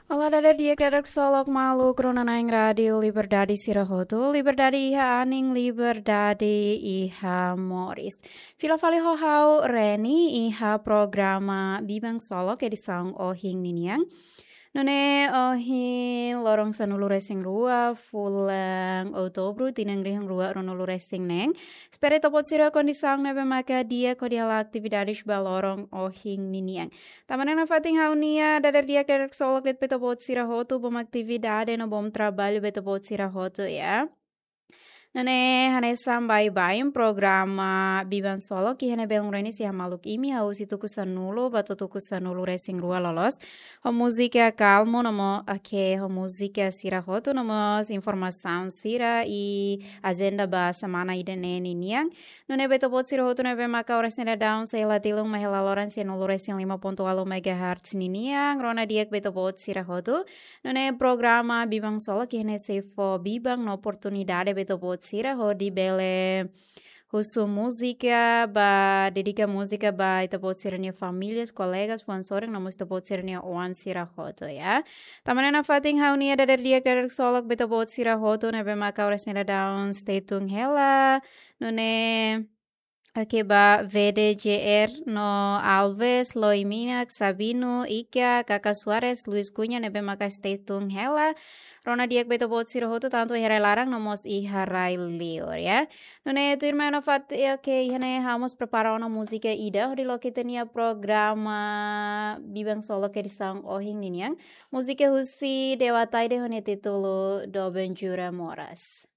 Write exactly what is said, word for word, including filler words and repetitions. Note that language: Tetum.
Olá, dader di'ak, dader ksolok maluk rona-na'in Rádiu Liberdade sira hotu. Liberdade iha anin, liberdade iha moris. Fila fali ho ha'u Reni iha programa Biban Ksolok edisaun ohin ninian. Nune'e ohin loron sanulu-resin-rua, fulan Outubru, tinan rihun rua ruanulu-resin-neen. Espera ita-boot sira kondisaun ne'ebé maka di'ak hodi hala'o atividades ba loron ohin ninian. Tanba ne'e nafatin ha'u-nia dader di'ak, dader ksolok de'it ba ita-boot sira hotu, bom atividade no bom traballu ba ita-boot sira hotu, ya. Nune'e hanesan baibain programa Biban Ksolok iha ne'e belun Reni sei hamaluk imi husi tuku sanulu ba to'o tuku sanulu-resin-rua loloos. Ho múzika kalmu no mós, oke, ho múzika sira hotu no mós informasaun sira i ajenda ba semana ida-ne'e ninian. Nune'e ba ita-boot sira hotu ne'ebé maka oras ne'e daudaun sei hela tilun mai hela loron sianulu-resin-lima pontu ualu megahertz ninian. Rona di'ak ba ita-boot sira hotu. Nune'e programa Biban Ksolok iha ne'e sei fó biban no oportunidade ba ita-boot sira hodi bele husu múzika ba, dedika múzika ba ita-boot sira-nia famílias, kolegas, fuan sorin no mós ita-boot sira-nia oan sira hotu, ya. Tanba ne'e nafatin ha'u-nia dader di'ak, dader ksolok ba ita-boot sira hotu ne'ebé maka oras ne'e daudaun stay tune hela. Nune'e, oke, ba V D J R no Alves, Loiminak, Sabino, Ika, Kaka Soares, Luis Cunha ne'ebé maka stay tune hela. Rona di'ak ba ita-boot sira hotu tantu iha rai laran no mós iha rai liur, ya. Nune'e tuirmai nafatin, oke, iha ne'e ha'u mós prepara ona múzika ida hodi loke ita-nia programa Biban Ksolok edisaun ohin ninian. Múzika husi Dewa Taide ho nia títulu Doben Jura Moras.